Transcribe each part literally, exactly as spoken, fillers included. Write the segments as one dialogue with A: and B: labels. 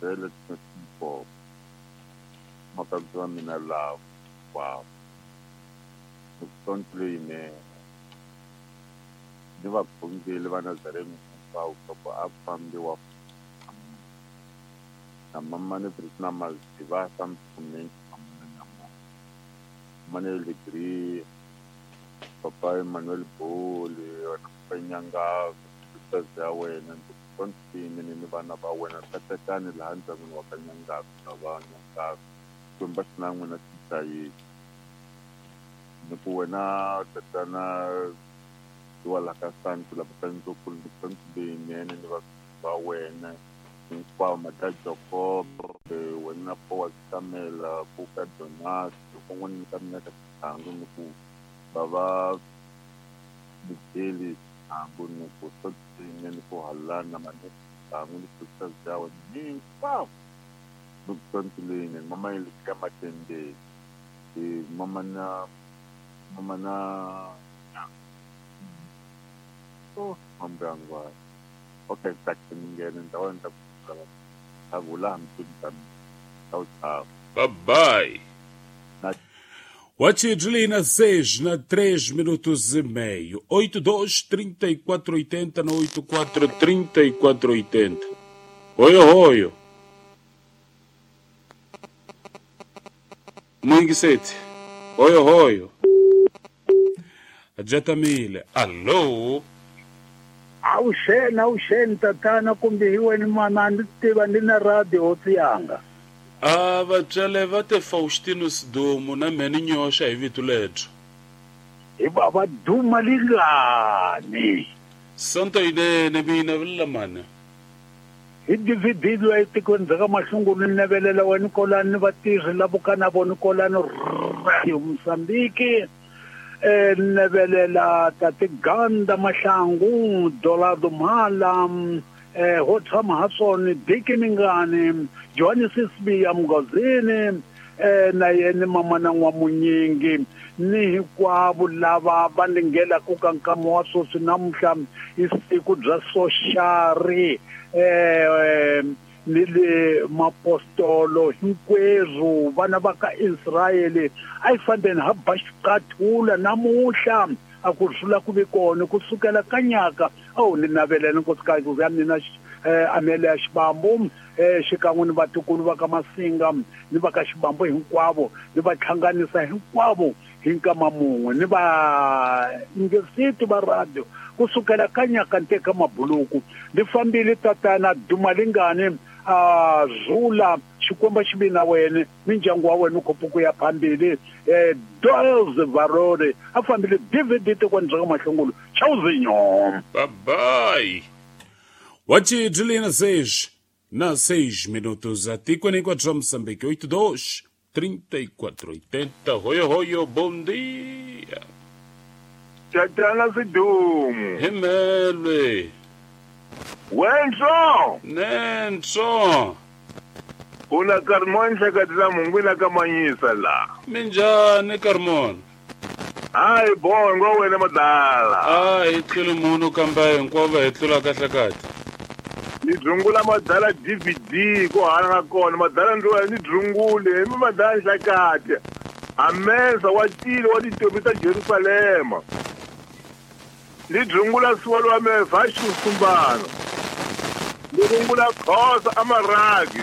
A: Bele Tsimpo makadzi wa mina lava hinkwavo ni ku sonto leyinene ni vakhongeri va Nazarene hinkwavo loko a fambiwa na mamani na maziva mamani Legri papa Emmanuel Bole papa Nyanga ya wena ndzi ni vana va wena katekani laha ndyangwini wa ka Nyanga na va Nyanga Xikwembu xi na n'wina xi hlayisa ni ku wena tatana wa ka Santu la Santu leyinene ni va va wena hinkwavo Mata Jacob wena Boaz Kamela Buka Jonas kun'wana ni ka mina ka Xihangu ni ku va va Mugeli Xihangu ni ku sotini ni ku halana mane Xihangu ni ku ya wena hinkwavo ni ku sonto leyinene mama yi ka Matendeni mama na mama na oh mambangwa okay ngene ndawoni ta ku tchau
B: Bye bye. Watch seis na três minutos e meio. oito dois trinta e quatro oitenta na oito quatro trinta e quatro oitenta. Oi, oi. Muito sete. Oi, oi. Ajatamile. Alô.
C: Awuxeni awuxeni tatana kumbe hi wena mana ndzi tiva ndi na radio hosi yanga.
B: A vatswale va te Faustino Sidumo na mheni Nyoxa hi vito lebyo.
C: Hi va va duma lingani.
B: Sonto yinene mina vula mani.
C: Hi D V D loyi etikweni bya ka Mahlungulu ni navelela wena kolani ni vatirhi lavo ka na vona kolani Radio Mozambique. Eh navelela tate Ganda Mahlangu Dolado Mhala eh ho tshama ha swona Diki Mingani Johannes Sibiya Mgozini eh na yena mama na n'wamunyingi ni hinkwavo lava va lingelaku ka nkama wa sweswi namuntlha i siku bya soxari eh ni le mapostolo hinkwerhu vana va ka Israyele a yi fambeni ha ba xiqathula namuntlha a ku rhula ku ve kona ku sukela ka nyaka awu ni navelela nkosikazi ya mina Amelia Xibambu eh xikan'we ni vatukulu va ka Masinga ni va ka Xibambu hinkwavo ni va hlanganisa hinkwavo hi nkama mun'we ni va ngesiti va radio ku sukela ka nyaka nteka mabuluku ni fambile tatana Dumalingani a zula Xikwembu xi vi na wena mindyangu wa wena u ya phambili eh Doles Varore a fambile D V D tikweni bya ka Mahlungulu chauzinyo.
B: Bye bye. Wachi Juliana seis na seis minutos a tikweni kwa Moçambique oito dois trinta e quatro oitenta. Hoyo hoyo, bom dia.
A: Tatana Sidumo.
B: Himelwe.
A: Wenso.
B: Nenso.
A: Una Carmon hleketela mungwina ka manyisa la.
B: Minjhani Carmon?
A: Hayi bongo wena madala.
B: A hi tluli munhu kambe hinkwavo hi tlula kahle kahle.
A: Ni dzungula madala D V D ku hana na kona madala ndzi ni dzungule hi madala hlekete. Amesa wa tile wa tintombi ta Jerusalema. Ni dzungula swolo wa meva xisumbana. Ni dzungula khosa amaragi.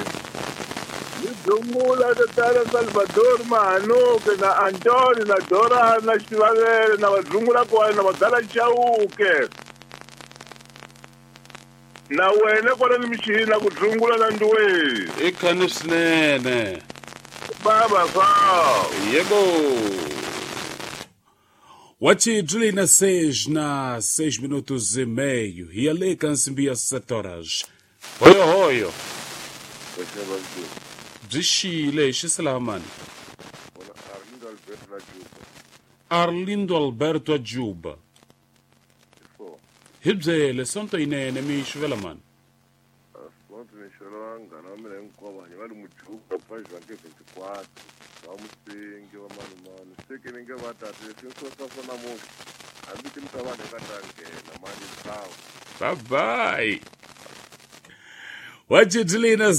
A: Ni dzungula tatana Salvador Mahanuke na Antoni na Dora na Xivavele na vadzungula kwale na madala Chauke. Na wena kwala ni mixini na ku dzungula na nduwe.
B: I khani swinene.
A: Baba fa.
B: Yebo. Wachi Juliana seis na seis minutos e meio. E ali kansimbi ya sete horas. Hoyo hoyo. Byi xile xiselamani. Arlindo Alberto Ajuba. Hi byele sonto yinene mi xivela mani.
A: Sonto ni xivela vanghana va mina hinkwavo hanya va li Mujuba va Jwanke veintiquatro va Musingi va Manumani seke ni nge va tate leswi swo swa swa namuntlha hambi ti mi ta vanhu eka ta nghena mani ntawu.
B: Bye bye. Wachi Juliana